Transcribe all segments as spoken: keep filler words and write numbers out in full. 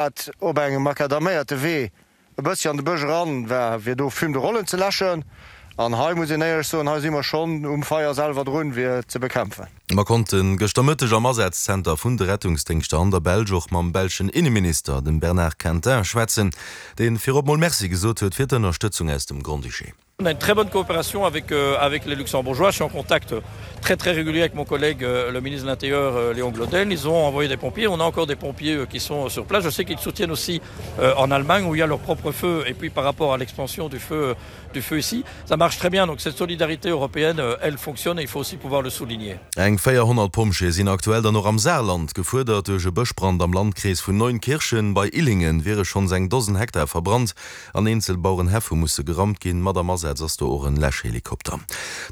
Dat op engem makadaméierte Wee e bëssi an de Bësch eran war, fir do Fume de rollen ze läschen. An hei muss een éierlech soen, hei si mer schonn um Feier selwer drun, fir et ze bekämpfen. Mer konnte gëschter Mëtteg am Asazzenter vun de Rettungsdéngschter an der Belsch och mam belschen Inneminister, dem Bernard Quintin, schwätzen, dee virop mol Merci gesot huet fir d'Ënnerstëtzung aus dem Grand-Duché. On a une très bonne coopération avec, euh, avec les Luxembourgeois. Je suis en contact très très régulier avec mon collègue euh, le ministre de l'Intérieur euh, Léon Gloden. Ils ont envoyé des pompiers. On a encore des pompiers euh, qui sont sur place. Je sais qu'ils soutiennent aussi euh, en Allemagne où il y a leur propre feu et puis par rapport à l'expansion du feu, du feu ici, ça marche très bien. Donc cette solidarité européenne, euh, elle fonctionne et il faut aussi pouvoir le souligner. Eng véierhonnert Pompjeeë sinn aktuell dann och am Saarland gefuerdert. Duerch e Bëschbrand am Landkrees vun Neunkirchen bei Illingen wiere schonns eng Dosen Hektar verbrannt an eenzel Bauerenhäff hu musse geraumt ginn. Mat am Asaz ass do och en Läschhelikopter.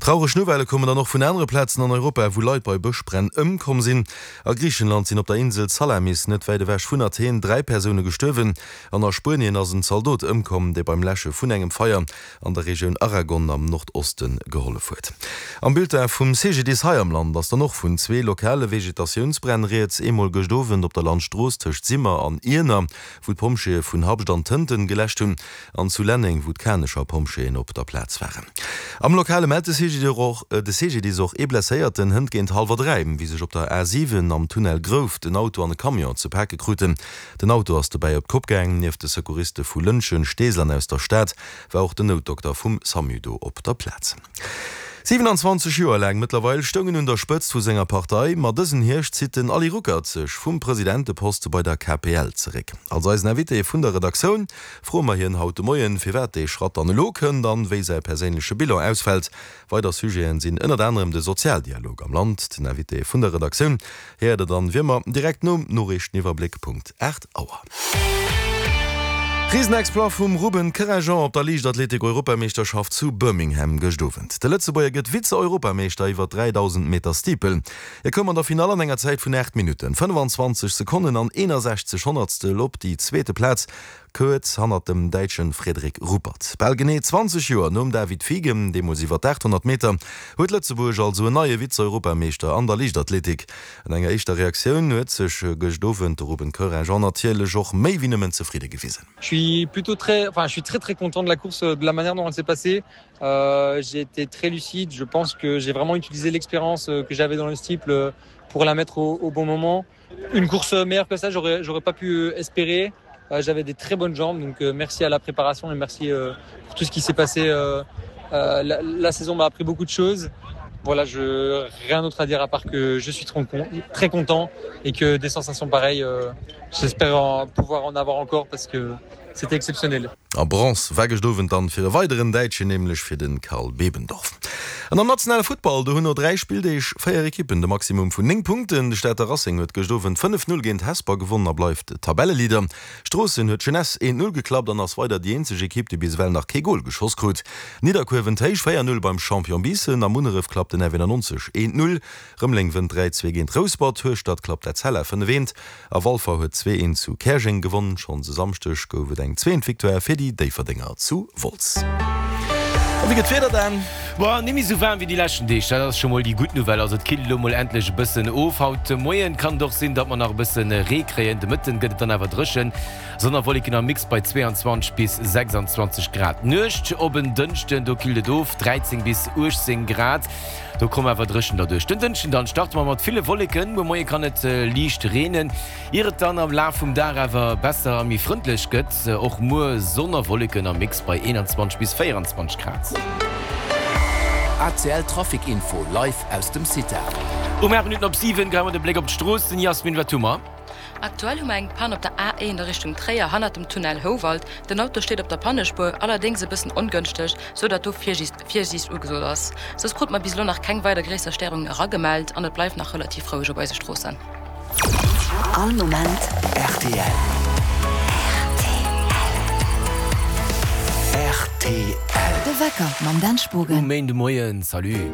Traureg Nouvellë kommen dann och vun anere Plazen an Europa, wou Leit bei Bëschbränn ëmkomm sinn. A Griichenland sinn op der Insel Salamis, net wäit ewech vun Athen, dräi Persoune gestuerwen an a Spuenien ass en Zaldot ëmkomm, dee beim Läsche vun engem Feier an der Regioun Aragon am Nordoste gehollef huet. Am Bulletin vum C G D I S hei am Land ass dann och vun zwee lokale Vegetatiounsbränn rieds, eemol gëscht Owend op der Landstrooss tëscht Simmer an Iener, wou d'Pompjeeë vun Habscht an Tënten geläscht hunn, an zu Lenneng, wou d'Kanecher Pompjeeën op der Plaz waren. Am Lokale mellt de C G D I S och ee Blesséierten hënt géint hallwer dräi, wéi sech op der A siwen am Tunnel Grouft en Auto an e Camion ze pake kruten. Den Auto ass dobäi op d'Kopp gaang. Nieft de Secouriste vu Lëntgen, Steesel an aus der Stad war och den Noutdokter vum SAMU do op der Plaz. siwenanzwanzeg Joer laang mëttlerweil stoung en un der Spëtzt vu senger Partei, ma dësen Hierscht zitt den Ali Ruckert sech vum Presidenteposte bei der K P L zeréck. Als eisen Invité vun der Redaktioun froe mer hien haut de Moien, firwat dee Schratt dann elo kënnt an wéi säi perséinleche Bilan ausfält. Weider Sujeten sinn ënnert anerem de Sozialdialog am Land. Den Invité vun der Redaktioun héiert der dann wéi ëmmer direkt nom Noriichteniwwerbléck Punkt aacht Auer. Risenexploit vum Ruben Koerengjean op der Liichtathletik-Europameeschterschaft zu Birmingham gëscht Owend. De Lëtzebuerger gëtt Vize-Europameeschter iwwer dräidausend Meter Steeple. Hie koum an der Finall an enger Zäit vun aacht Minutten, fënnefanzwanzeg Sekonnen an eenasechzeg Honnertstel op déi zweete Plaz, kuerz hannert dem Däitsche Frederik Ruppert. Bal genee zwanzeg Joer nom David Fiegem, deemools iwwer d'aathonnert Meter, huet Lëtzebuerg also en neie Vize-Europameeschter an der Liichtathletik. An enger éischter Reaktioun huet sech gëscht Owend de Ruben Koerengjean natierlech och méi wéi nëmmen zefridde gewisen. Je suis plutôt très, enfin, je suis très très content de la course, de la manière dont elle s'est passée. Euh, j'ai été très lucide. Je pense que j'ai vraiment utilisé l'expérience que j'avais dans le steeple pour la mettre au, au bon moment. Une course meilleure que ça, j'aurais, j'aurais pas pu espérer. Euh, j'avais des très bonnes jambes, donc euh, merci à la préparation et merci euh, pour tout ce qui s'est passé. Euh, euh, la, la saison m'a appris beaucoup de choses. Voilà, je rien d'autre à dire à part que je suis trop con, très content et que des sensations pareilles, euh, j'espère en, pouvoir en avoir encore parce que c'était exceptionnel. A Bronz war gëscht Owend dann fir e weideren Däitschen, nämlech fir den Karl Bebendorf. An am nationale Futtball, do hunn no dräi Spilldeeg véier Ekippen de Maximum vun néng Punkten. De Stater Racing huet gëscht Owend fënnef Null géint Hesper gewonnen a bleift Tabelleleader. Stroossen huet d'Jeunesse eent Null geklappt an ass weider déi eenzeg Ekipp, déi bis ewell nach kee Gol geschoss krut. Nidderkuer wënnt héich véier Null beim Champion Biissen. A Munneref klappt den R W nonzeg eent Null. Rëmeleng wënnt dräi Zwee géint Rouspert. Hueschtert klappt Etzella fënnef Eent a Walfer huet zwee Eent zu Käerjeng gewonnen. Schonns e Samschdeg gouf et eng zweet Victoire fir déi Déifferdenger zu Wolz. A wéi gëtt d'Wieder dann? Boah, net méi sou waarm wéi déi leschten Deeg, dat ass scho mol déi gutt Nouvelle. Also et killt elo mol endlech e bëssen of. Haut de Moien kann et och sinn, datt mer nach e bësse Ree kréien. De Mëtten gëtt et dann awer dréchen. Sonn a Wolleken am Mix bei zweeanzwanzeg bis sechsanzwanzeg Grad. D'Nuecht op en Dënschden, do killt et of, dräizéng bis uechtzéng Grad. Do komm awer dréchen derduerch. Den Dënschden dann starte mer mat ville Wolleken. Muer Moie kann et liicht reenen, ier et dann am Laf vum Dag awer besser a méi frëndlech gëtt. Och muer Sonn a Wolleken am Mix bei eenanzwanzeg bis véieranzwanzeg Grad. A C L Trafic Info live aus dem CITAR. Um aacht Minutten op siwen geheie mer de Bléck op d'Stroossen. Jasmin, wat hu mer? Aktuell hu mer eng Pann op der A eent a Richtung Tréier hannert dem Tunnel Houwald. Den Auto steet op der Pannespuer, allerdéngs e bëssen ongënschteg, sou datt do Virsiicht ugesot ass. Soss krute mer bis elo nach keng weider gréisser Stéierungen eragemellt an et bleift nach relativ roueg op eise Stroossen. All Moment R T L. R T L. De Wecker mam Dan Spogen. Um Méindemoien, salut.